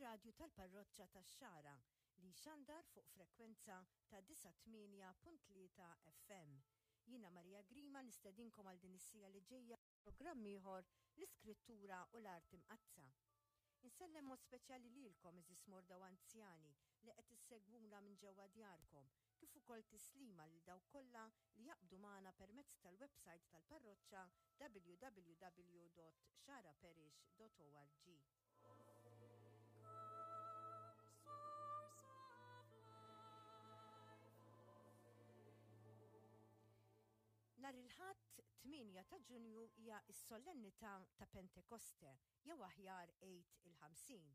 Ir-radju tal-parroċċa tax-Xagħra li jxandar fuq frekwenza ta' 98.3 FM. Jiena Maria Grima nistedinkom għal din is-siegħa li ġejja programm ieħor l-Iskrittura u l-Art Imqaddsa. Insellem mod speċjali lilkom għeżież morda u anzjani li qed issegwuna minn ġewwa djarkom, kif ukoll tislima lil dawk kollha li jaqbdu magħna permezz tal-websajt tal-parroċċa www.xaraparish.org. Nhar il-Ħadd 8 ta' Ġunju hija s-Solennità ta' Pentekoste jew aħjar Għid il-Ħamsin.